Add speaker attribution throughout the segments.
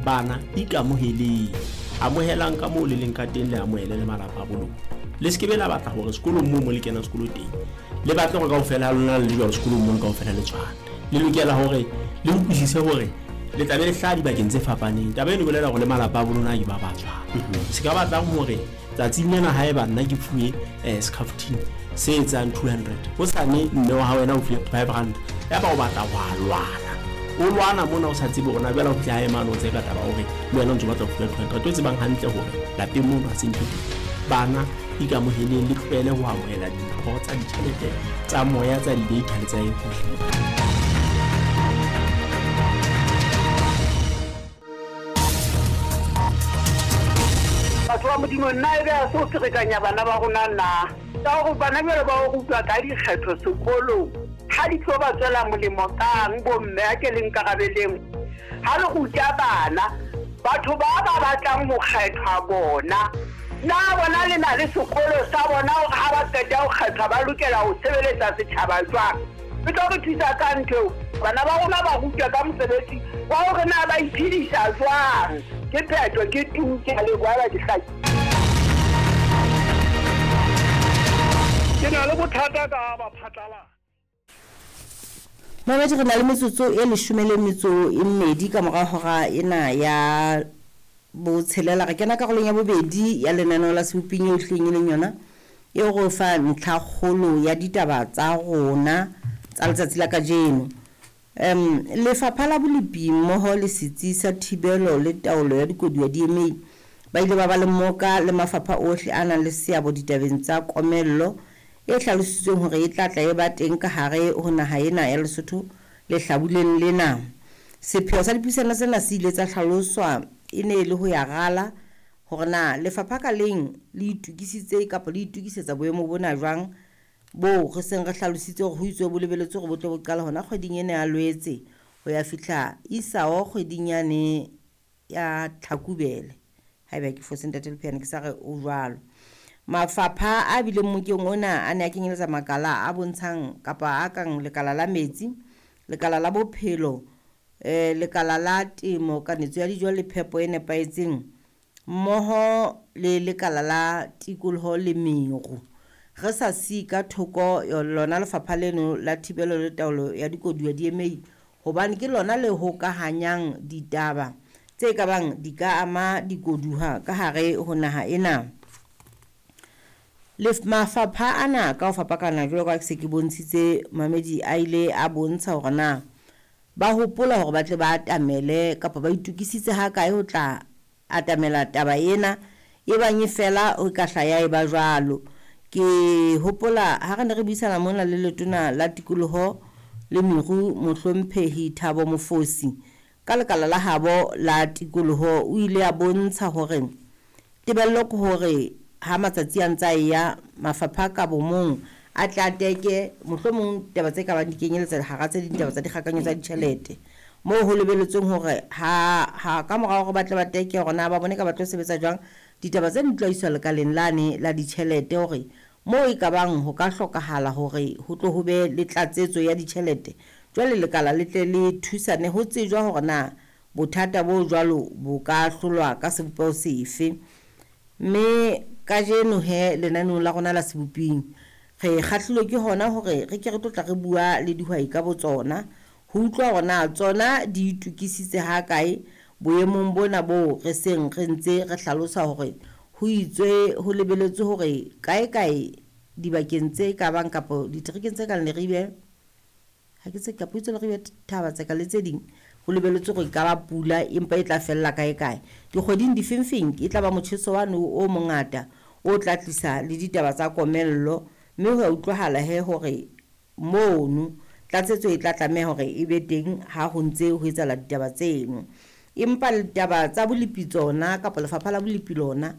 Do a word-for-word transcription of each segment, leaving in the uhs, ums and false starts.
Speaker 1: Bana ikamoheleng, amohelang ka moo le leng ka teng, le amohele le malapa a bo lona. Le se ke be la batla hore sekolong moo mo le kenang sekolo teng le batle hore kaofela ha lona le le jwalo sekolong mono kaofela le tshwane. Le lokela hore le utlwisise hore le tla be le hlaha dibakeng tse fapaneng. Taba eno e bolela hore le malapa a bo lona ke ba ba tshwana. Se ka batlang hore tsatsing lena haeba nna ke fuwe eh, scaftine se etsang two hundred, hosane mme wa hao wena o fuwe five rand, ya ba o batla ho a lwana, o lwana mona o sa tsebe hore na jwale o fihla hae mane o tseka taba hore le wena o ntso batla ho fuwa two hundred, o tsebang hantle hore lapeng mono ha se ntho teng. Bana ikamoheleng, le tlohele ho amohela dimpho tsa ditjhelete tsa moya, tsa di-data le tsa eng hohle.
Speaker 2: Batho ba Modimo, nna ebe ha se ho ferekanya bana ba rona na? Ka hore bana jwale ba o rutwa ka dikgetho sekolong, ha di tlo ba tswela molemo kang bomme? A ke le nkarabeleng. Ha le ruta bana, batho ba ba batlang ho kgethwa bona, na bona le na le sekolo sa bona hore ha ba qeta ho kgethwa ba lokela ho sebeletsa setjhaba jwang? E tlo re thusa ka ntho eo. Bana ba rona ba rutwa ka mosebetsi wa hore na ba iphedisa jwang. Ke phetho, ke tu, ke a leboha ba ke hlaki.
Speaker 3: Ke na le bothata ka ba phatlala.
Speaker 4: Mamedi, re na le metsotso e leshome le metso e mmedi ka mora hora ena ya botshelela. Re kena karolong ya bobedi ya lenaneo la Seboping eo hleng e leng yona e re fa ntlhakgolo ya ditaba tsa rona tsa letsatsi la kajeno. Um, Lefapha la Bolepi mmoho le Setsi sa Thibelo le Taolo ya Dikoduwa D M A ba ile ba ba le mmoka le mafapha ohle a nang le seabo ditabeng tsa komello e hlalositsweng hore e tla tla e ba teng ka hare ho naha ena ya Lesotho lehlabuleng lena. Sepheo sa dipuisano tsena se ile tsa hlaloswa e ne e le ho ya rala hore na lefapha ka leng le itokisitse kapa le itokisetsa boemo bona jwang bo re seng re hlalositse hore ho itswe bo lebeletswe hore bo tlo bo qala hona kgweding ena ya Lwetse ho ya fihla isao kgweding yane ya Tlhakubele. Haeba ke fose ntate Lepheane, ke sa re o jwalo. Mafapha a bileng mokeng ona a ne a kenyeletsa makala a bontshang kapa a kang lekala la metsi, lekala la bophelo, eh, lekala la temo, kanetso ya dijo le phepo e nepahetseng, mmoho le lekala la tikoloho le meru. Re sa siye ka thoko lona lefapha leno la thibelo le taolo ya dikoduwa D M A, hobane ke lona le hokahanyang ditaba tse ka bang di ka ama dikoduwa ka hare ho naha ena. Lef-, mafapha ana ka ho fapakana jwalo ka ha ke se ke bontshitse mamedi a ile a bontsha hore na ba hopola hore ba tle ba atamele kapa ba itokisitse ha kae ho tla atamela taba ena e bang e fela ho ka hla ya eba jwalo. Ke hopola ha re ne re buisana mona le letona la tikoloho le meru mohlomphehi Thabo Mofosi ka lekala la habo la tikoloho, o ile a bontsha hore tebello ke hore ha matsatsi a ntse a eya mafapha ka bomong a tla teke mohlomong taba tse ka bang di kenyeletsa hara tse ding taba tsa dikgakanyo tsa ditjhelete moo ho lebeletsweng hore ha, ha ka morao hore ba tle ba teke hore na ba bone ka ba tlo sebetsa jwang ditaba tse di tlo iswa lekaleng lane la ditjhelete hore moo e ka bang ho ka hlokahala hore ho tlo ho be le tlatsetso ya ditjhelete. Jwale lekala le tle le thusane ho tsejwa hore na bothata bo jwalo bo ka hlolwa ka sebopeho sefe. Mme kajeno he lenaneong la rona la Seboping re kgahlilwe ke hona hore re ke re tlo tla re bua le dihwai ka botsona ho utlwa hore na tsona di itokisitse ha kae boemong bona bo re seng re ntse re hlalosa hore ho itswe ho lebeletswe hore kae kae dibakeng tse ka bang kapa diterekeng tse kang Leribe, ha ke tse kapa itse Leribe Thaba Tseka le tse ding, ho lebeletswe hore e ka ba pula empa e tla fella kae kae. Dikgweding difengfeng e tla ba motjheso wane o mongata o tla tlisa le ditaba tsa komello, mme ho a utlwahala he hore mono tlatsetso e tla tlameha hore e be teng ha ho ntse ho etsahala ditaba tseno. Empa ditaba tsa bolepi tsona kapa lefapha la bolepi lona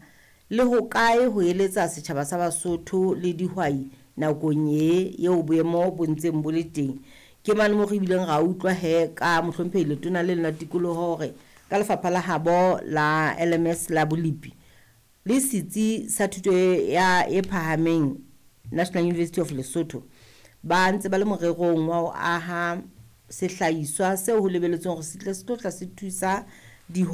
Speaker 4: le ho kae ho eletsa setjhaba sa Basotho le dihwai nakong e eo boemo bo ntseng bo le teng. Ke mane moo re bileng ra utlwa he ka mohlomphehi letona le lena tikoloho hore ka lefapha la habo la L M S la bolepi le setsi sa thuto ya e phahameng National University of Lesotho ba ntse ba le morerong wa ho aha sehlahiswa seo ho lebeletsweng hore se tle se tlo tla se thusa dihwai.